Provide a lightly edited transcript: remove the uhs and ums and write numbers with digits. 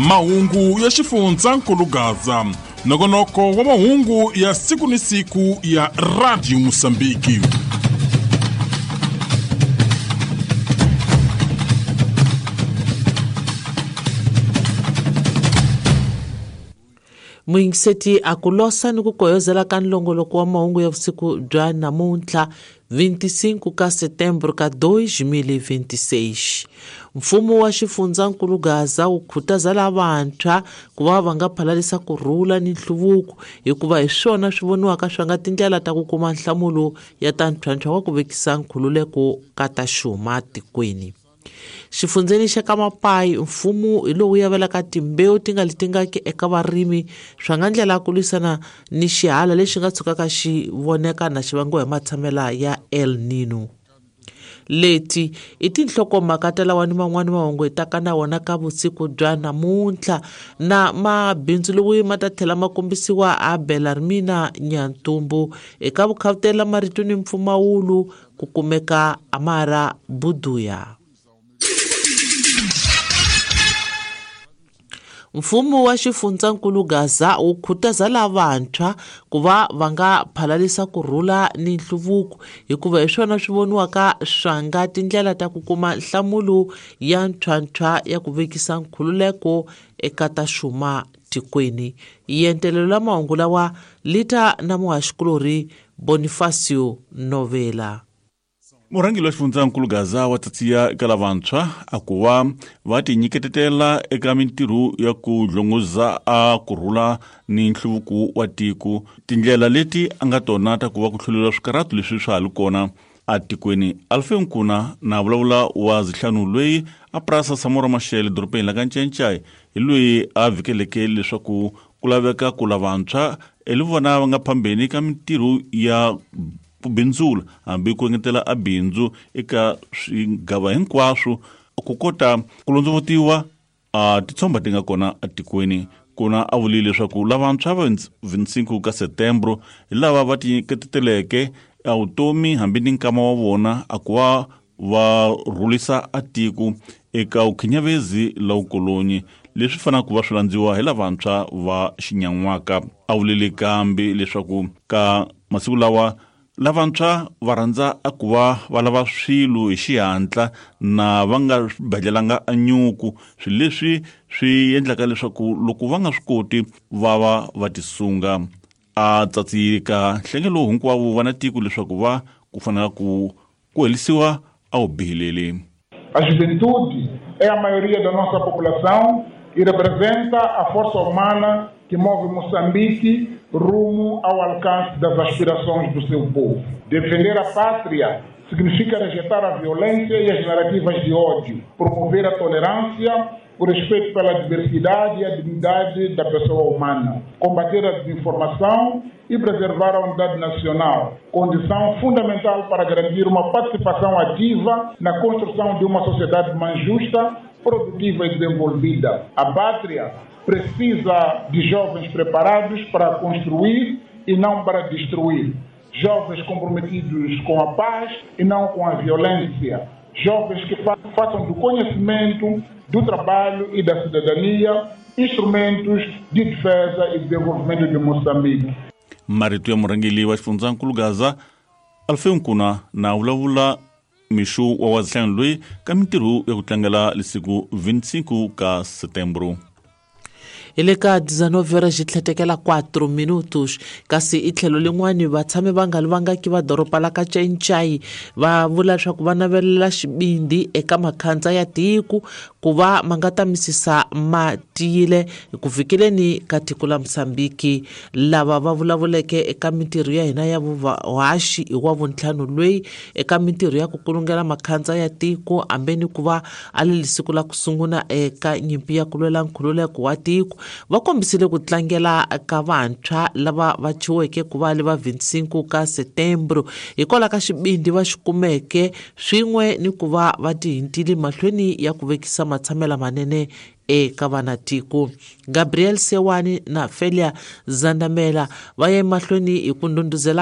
Mahungu ya xifundzankulu Gaza, nongonoko wa mahungu ya siku ni siku ya Radio Mosambiki. Muyingiseti a ku losa ni ku koyozela ka nlongoloko wa mahungu ya vusiku bya namuntlha 25 ka setembro ka 2026. Mfumo wa xifundzankulu Gaza wu khutaza lavantshwa ku va va nga phalalisa ku rhula ni nhluvuko, hikuva hi swona swi voniwaka swa nga tindlela ta ku kuma nhlamulo ya ta ntlhontlho wa ku vekisa nkhululeko ka ta xuma tikweni. Xifundzeni xa ka Mapai, mfumo hi lowu yavelaka timbewu ti nga letingaki eka varimi swa nga ndlela ya ku lwisana ni xihala lexi nga tshukaka xi voneka na xi vangiwa hi matshamela ya El Nino. Leti i tinhlokomhaka ta lawa ni man'wani mahungu hi taka na wona ka vusiku bya namuntlha, na mabindzu lowu ma ta tlhela ma kombisiwa a Belarmina Nyantumbu eka vukhavutela marito ni mpfumawulo ku kumeka Amara Buduya. Mfumo wa xifundzankulu Gaza wu khutaza lavantshwa ku va va nga phalalisa ku rhula ni nhluvuko, hikuva hi swona swi voniwaka swa nga tindlela ta ku kuma nhlamulo ya ntlhontlho ya ku vekisa nkhululeko eka ta xuma tikweni. Yentelelo la mahungu lawa lita na muhaxikulorhi Bonifacio Novela. Murhangeri wa xifundzankulu Gaza wa tsatsiya eka lavantshwa a ku va va tinyiketetela eka mintirho ya ku dlongoza a ku rhula ni nhluvuko wa tiko, tindlela leti a nga tona ta ku va ku hluleriwa swikarhato leswi swa ha li kona atikweni. Alfeu Nkuna na vulavula wa zihlanu loyi a purasa Samora Machel dorobeni la ka Ncencai hi loyi a vhikeleke leswaku ku laveka ku lavantshwa hi vona va nga phambeni ka mintirho ya ku bindzula hambi ku engetela a bindzu eka swigava hinkwaswo ku kota ku londzovutiwa a titshomba ti nga kona atikweni. Kuna a vulile leswaku lavantshwa va 25 ka setembro hi lava va tinyiketeleke a vutomi hambi ni nkama wa vona a ku va va rhulisa a tiko eka vukhinyavezi la vukolonyi leswi fanaka ku va swi landziwa hi lavantshwa va xinyan'waka. A vulile kambe leswaku ka masiku lawa lavantshwa va rhandza a ku va va lava swilo hi xihatla na va nga badlelanga a nyuku, swilo leswi swi endlaka leswaku loko va nga swi koti va va va tisunga. A tsatsika nhlengelo hinkwavo va na tiko leswaku va ku fanela ku helisiwa a wu bihileli. A juventude é a maioria da nossa população e representa a força humana que move Moçambique rumo ao alcance das aspirações do seu povo. Defender a pátria significa rejeitar a violência e as narrativas de ódio, promover a tolerância, o respeito pela diversidade e a dignidade da pessoa humana, combater a desinformação e preservar a unidade nacional, condição fundamental para garantir uma participação ativa na construção de uma sociedade mais justa, produtiva e desenvolvida. A pátria precisa de jovens preparados para construir e não para destruir. Jovens comprometidos com a paz e não com a violência. Jovens que façam do conhecimento, do trabalho e da cidadania instrumentos de defesa e desenvolvimento de Moçambique. Marito ya murhangeri wa xifundzankulu Gaza Alfeu Nkuna na vulavula mixo wa wazihlanu loyi ka mintirho ya ku tlangela lesiku 25 ka setembro. Hi le ka 19 horas xi tlhetekela 4 minutos, kasi i tlhelo lin'wani vatshami va nga li vangaki va doroba la ka Cencai va vula leswaku va navelela xibindi eka makhandza ya tiko ku va ma nga ta misisa ma tiyile ku fikeleni ka tiko la Mozambique. Lava va vulavuleke eka mintirho ya hina ya vuhaxi hi wa vuntlhanu loyi eka mintirho ya ku kulungela makhandza ya tiko ambeni ku va a le siku la ku sungula eka nyimpi ya ku lwela nkhululeko wa tiko, va kombisile ku tlangela ka vantshwa lava va chiweke ku va le va 25 ka setembro hikwalaho ka xibindi va xi kumeke swin'we ni ku va va tihintile mahlweni ya ku vekisa matshamela manene eka vanatiko. Gabriel Sewani na Felia Zandamela va ya emahlweni hi ku ndhundhuzela